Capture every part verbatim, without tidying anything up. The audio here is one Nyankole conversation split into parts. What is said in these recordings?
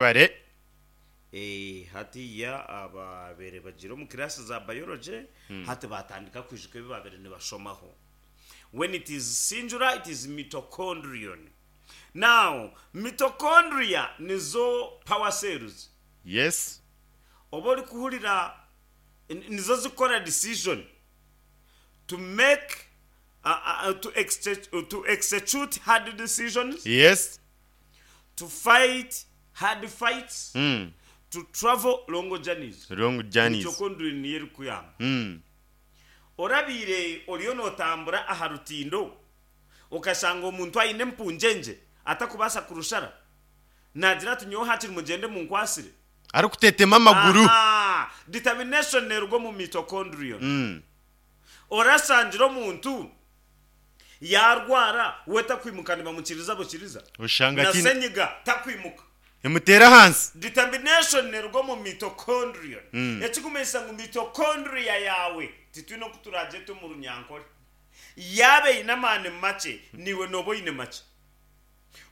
Bare. Eh, hatiya ababaire bagiire omu class za biology hati batandika kwijuka ebi babaire nibashomaho. When it is singular it is mitochondrion. Now, mitochondria nizo power cells. Yes. Oba orikuhurira nizo zikukora decision to make uh, uh, to, exche- to execute hard decisions, Yes. to fight hard fights, Mm. to travel long journeys. Long journeys. Mitochondria niyo erikuyamba. Mm. Orabiire oriyo nootambura aha rutindo okashanga omuntu aine empungyenje atakubaasa kurushara naagira ati nyowe hakiri mugyende munkwasire. Arikutetema amaguru. Aha, determination neeruga omu mitochondrion. Mm. Orashangire omuntu yaarwara we takwimuka nibamukiriza bukiriza Oshanga na ati senyiga takwimuka. emuteera ahansi. Determination neeruga omu mitochondrion. Mm. Ekikumanyisa ngu mitochondria yaawe titwine oku turagyete omu runyankore. Yaaba eine amaani makye niiwe nooba oine makye.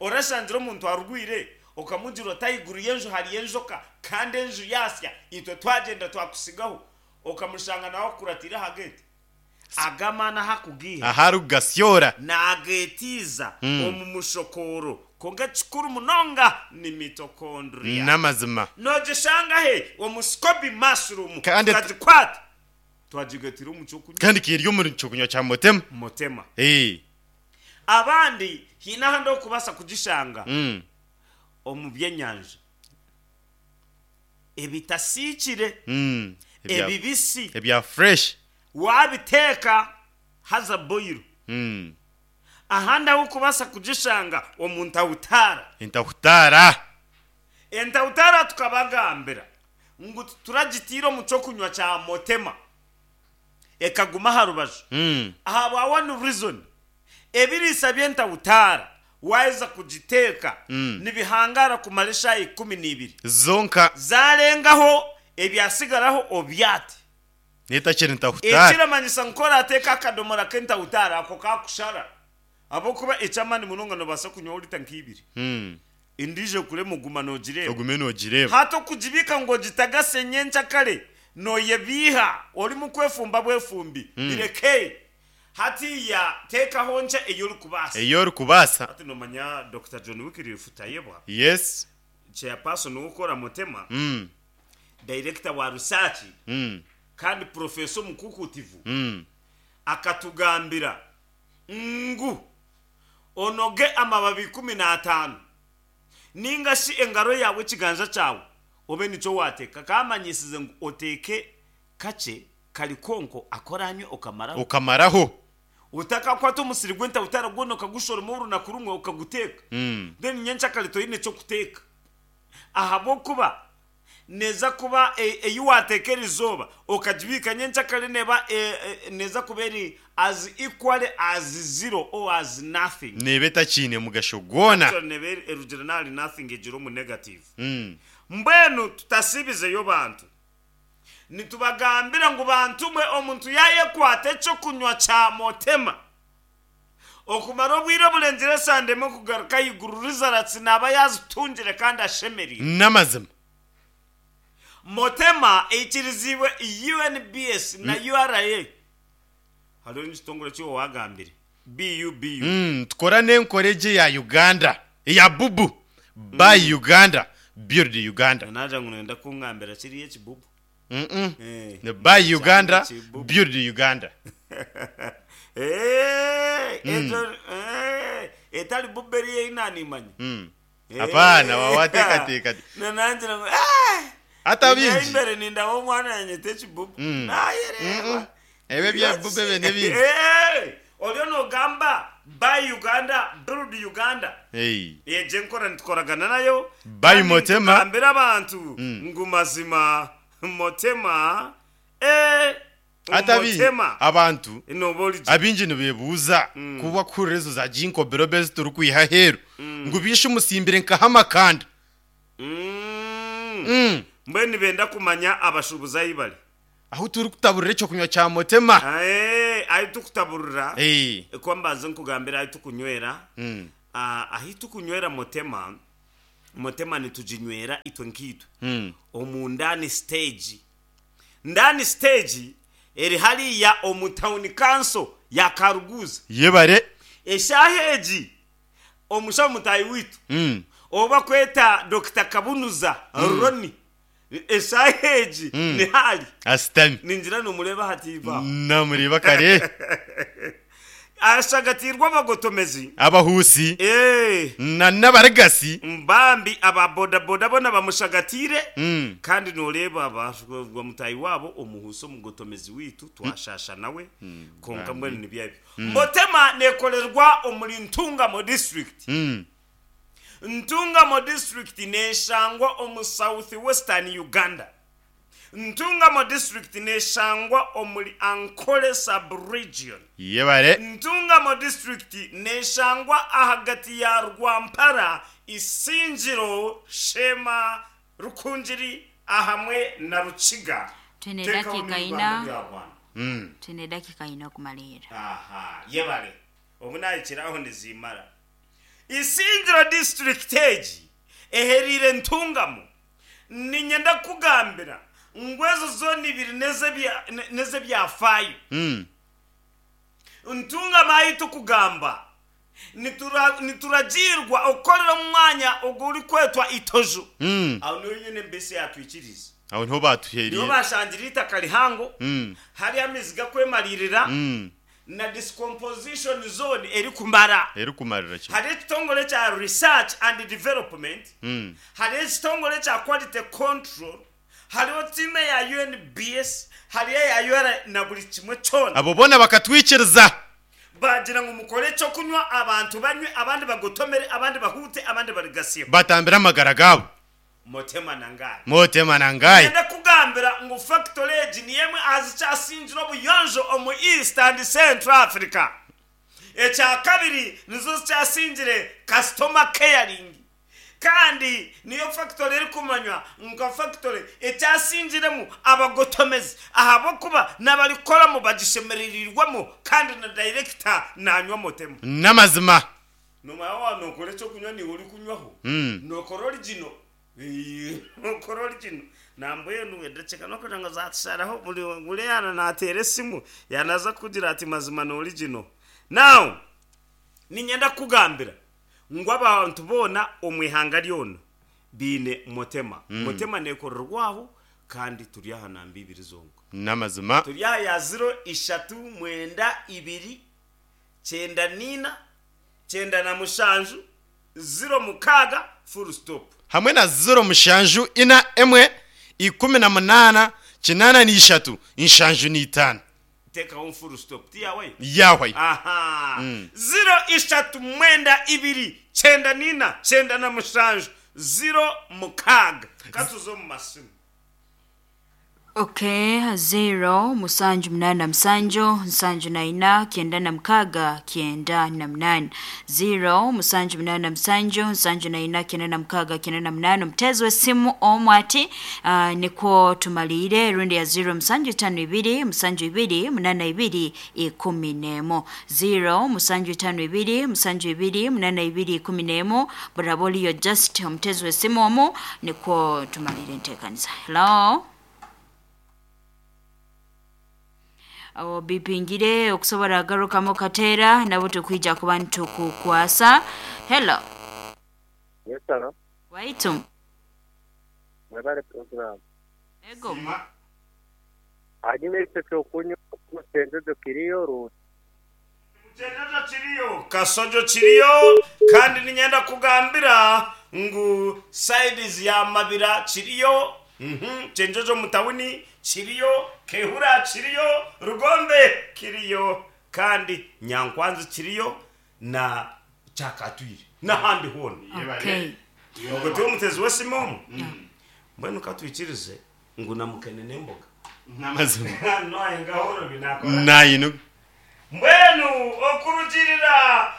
Orashangire omuntu arwire okamugira oti ahaiguru y'enju hariyo enjoka kandi enju yaasya itwe twagyenda twakusigaho okamushanga nawe akukuratiire aha geeti. Aga amaani ahu akugiiha Ahu arikugasyora. naageetiiza Mm. omu mushokooro kwonka ekikuru munonga ni mitochondria. N'amazima. Noogishanga he? Omu scoby mushroom. Kandi tukagikwata twagigatira omu kyokunywa. Kandi kiri omu kyokunywa kya Motema. Motema. Eh. Abandi haine ahandi orikubaasa kugishanga Mm. omu byenyanja ebitasiikire, Mm. Ebya, ebibisi, ebya fresh. waabiteeka haza boil. Mm. Ahandi ahu orikubaasa kugishanga omu ntahutaara. Entahutaara. Entahutaara tukabagambira ngu tituragitiire omu kyokunywa kya Motema ekaguma aha rubaju. Mm. Ahabwa one reason, ebiriisa by'entahutaara waaheza kugiteeka Mm. nibihangaara kumara eshaaha ikumi n'ibiri. Zonka. Zaarengaho ebyasigaraho obyate. Netakiri ntahutaara. Ekiramanyisa ngu ku orateeka akadomora k'entahutaara ako kakushara. Ahabw'okuba eky'amaani munonga noobaasa kunywaho lita nk'ibiri. Mm. Endiijo ekurema oguma noogireeba. Ogume noogireeba. Hati okugibiika ngu ogitagase nyenkyakare nooyebiiha orimu kwefumba bwefumbi. Bireke. Hatiiya teekaho nkye ei orikubaasa. Ei orikubaasa. Hati noomanya Dokita John Wycliffe Tayebwa, Yes. chairperson w'okukora Motema, Mm. director wa research Mm. kandi professor omukukuutivu, Mm. akatugambira ngu onoge amababi ikumi n'ataano ninga shi engaro yaawe ekiganja kyawe obe nikyo waateeka. Kaamanyisize ngu oteeke kakye kari konko aku oraanywe okamaraho. Okamaraho. Otakakwata omusiri gw'entahutaara gwona okagushoroma orunaku rumwe okaguteeka. Mm. Then nyenkyakare toine ky'okuteeka. Ahabw'okuba neeza kuba e- ei waateeka erizooba okagibiika nyenkyakare neeba e- e- neeza kuba eri as equal as zero or as nothing. Neeba etakiine mugasho gwona. Actually neeba eri- erugire n'ahari nothing egire omu negative. Mm. Mbwenu tutasiibizeyo bantu. Nitubagambira ngu bantu mwe omuntu yaayekwata ekyokunywa kya Motema okumara obwire oburengire esande emwe kugaruka ahaiguru results naaba yaazitungire kandi ashemereire. N'amazima. Motema eikiriziibwe U N B S na U R A. Hariho n'ekitongore eki iwe waagambire B U B U. Mm, tukora n'enkora egyo eya Uganda eya bubu. Buy Uganda, build Uganda. Naagira ngu nooyenda kungambira kiriya ekibubu. Mm-mm. Eh, Ni buy Uganda, Ekibubu. build Uganda. Eh, ekyo, eh, etari bubu eriyo ei naanimanya. Mm. Eh. Apaana, waateekateeka. Na nangira ngu, ah! Hati abingi. Nyayo embere nindaba omwana yanyeta ekibubu. Mm. Naayereeba. Mm-mm. Ebyo ebya bubu ebyo n'ebindi. Eh, oriyo noogamba buy Uganda, build Uganda. Hey. Egyo enkora nitukoragana nayo. Buy Kandi Motema. nitugambira abantu ngu mazima Motema, eh, Hati abingi, Motema. abantu Nooba ori gye. abingi nibeebuuza ku bakuhurira ezo za ginkgo biloba ezi turikwiha aheeru ngu biishe omusimbire nkaha amakanda. Mm. Mm. Mbwenu nibenda kumanya abashuubuzi ahi bari. Ahu turikutaburira ekyokunywa kya Motema. Ae, ahi turikutaburira, Eh. ku mbanze nkugambire ahi tukunywera. Mm. Ah, ahi tukunywera Motema Motema nituginywera itwe nkitwe Mm. omu ndani stage, ndani stage eri hariya omu town council ya Karuguza. Yebare. Eshaaha egi omushaho mutayi witu Mm. oba kweta Doctor Kabunuza Roni, eshaaha egi ni hali Asitami. ningira nomureba hatiiva. Namureba kare. Ashagatirwa abagotomezi. Abahusi. Eh, na n'abarigasi. Mbambi ababodaboda bona bamushagatire. Mm. Kandi noreba mutayi wabo omuhuso omugotomezi witu twashasha nawe, konka mbwenu nibyebyo. Motema nekorerwa omuri Ntungamo district. Mm. Ntungamo district neshangwa omu South Western Uganda. Ntungamo district neshangwa omuri Ankole sub-region. Yebare. Ntungamo district neshangwa ahagati ya Rwampara, Isingiro, Shema, Rukungiri ahamwe na Rukiga. Twine Tekaho dakika n'u ina. Rwanda bya Rwanda. Mm. Twine dakika ina okumalira. Aha, yebale. Obu nayikiraho nizimara. Isingiro district egi eherire Ntungamo, ninyenda kugambira ngu ezo zone ibiri nez'ebyafaayo. Mm. Ntungamo ahi tukugamba nitura- nituragirwa okukorera omwanya oguri kwetwa Itojo. Mm. Aho niho nyine mbese yatwikiriza. Aho niho batuheriye. Niho bashangira itaka rihango. Mm. Hariyo amaizi gakwemalirira Mm. na decomposition zone eri kumara. Eri kumarira kimwe. Hari ekitongore kya research and development. Mm. Hari ekitongore kya quality control, hariho tiime ya U N B S, hariyo eya U R na buri kimwe kyona. Abo bona bakatwikiriza. Bagira ngu mukore ekyokunywa, abantu banywe, abandi bagotomere, abandi bahute, abandi barigasiho. Batambira amagara gabo. Motema nangaye. Motema nangaye. Ngenda kugambira ngu factory egi ni emwe azikyasingira obuyonjo omu East and Central Africa. Ekya kabiri, nizo zikyasingire customer caring, kandi niyo factory eri kumanywa nka factory ekyasingiremu abagotomezi, ahabwokuba n'abarikoramu bagishemererirwemu, kandi na director nanywa Motema. N'amazima. Nomanya wa nokora ekyokunywa niwe ori kunywaho. Mm. Nokora original. Ee, nokora original nambwenu edaceka nokugira ngo zatusharaho buri buri yana natera esimu yanaza kugira ati mazima ni original. Now ninyenda kugambira ngu abantu boona omu ihanga ryona biine Motema. Motema nekorerwaho kandi turi aha namba ibiri zonka. N'amazima. Turi aha ya ziro ishatu mwenda ibiri kyenda nina kyenda na mushanju ziro mukaaga full stop. Hamwe na ziro mushanju ina emwe ikumi na munana kinana n'ishatu inshanju n'itano. Tekaho full stop tiyawe. Yahwe. Aha, ziro ishatu mwenda ibiri kyenda nina kyenda na mushanju ziro mukaaga. Katuze omu masimu. Okay, zero musanju munana musanju nsanju na ina kyenda na mukaga kyenda na munana, zero musanju munana musanju nsanju na ina kyenda na mukaga kyenda na munana. Omutezi w'essimu omu ati uh, nikwo tumalire rundi ya zero musanju itano ibiri musanju ibiri munana ibiri ikumi n'emu, zero musanju itano ibiri musanju ibiri munana ibiri ikumi n'emu. Buraba oliyo just omutezi w'essimu omu, nikwo tumalire enteekaniza. Hello. Awo bipingire okusobola agarukamu kateera nabo tukwija kuba nitukukwasa. Hello. Yes, hello. Waitu. Mwebale program. Ego. Hanyuma ekyo kyokunywa omusenjojo kiriyo rundi? Kyenjojo kiriyo, kasojo kiriyo, kandi ninyenda kugambira ngu sides ya Mabira kiriyo, mhm, Kyenjojo mutawuni kiriyo, Kehura kiriyo, Rugombe kiriyo, kandi Nyankwanzi kiriyo na Kyakatwire n'ahandi hoona. Okay. Ogwo tiwe omutezi w'esimu omu mbwenu katwikirize ngu namukene n'emboga. N'amazima. Noye ngahoro binakora. Nayino. Mbwenu okurugirira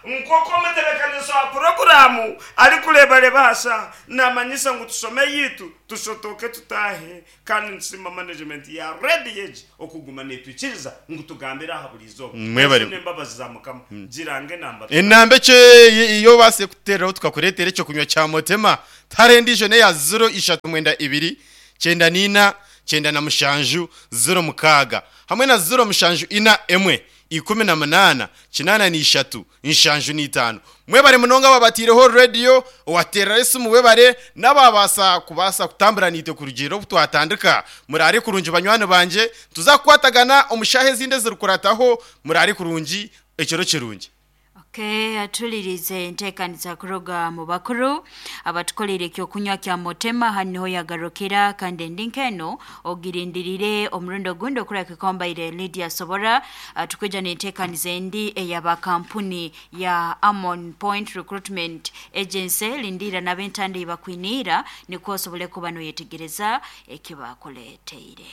nk'oku omutebeekaniso wa puroguramu arikureebareeba hasa namanyisa ngu tushome yitu tushotoke tutahe, kandi nitusiima management ya rediyo egi okuguma netwikiriza ngu tugambire aha buri izooba. Mwebare. Ezo n'embabazi za Mukama. Girange enamba. Enamba ekyo iyo base kutereraho tukakureetera ekyo kunywa kya motema tarendijo neya ziro ishatu mwenda ibiri kyenda nina kyenda na mushanju ziro mukaaga hamwe na ziro mushanju ina emwe ikumi na munana kinana n'ishatu nshanju n'itaano. Mwebare munonga babatiireho rediyo owaterera esimu, webare n'ababasa kubasa kutambura niitwe kurugiirira obu twatandika. Murare kurungi banywani banje, tuzakukwatagana omu shaaha ezindi ezirikurataho. Murare kurungi, ekiro kirungi. Okay, atulirize enteekaniza kuruga mu bakuru abatukolere ekyokunywa kya motema. Hano niho yagarukira, kandi endi nkeno ogirindirire omurundi ogundi okura kikombaire Lydia Sobora. uh, tukwija n'enteekaniza endi ey'abakampuni ya Amon Point Recruitment Agency. Lindira n'abentanda bakwiniira nikwo osobole kuba noyetegereza ekibakuleteire.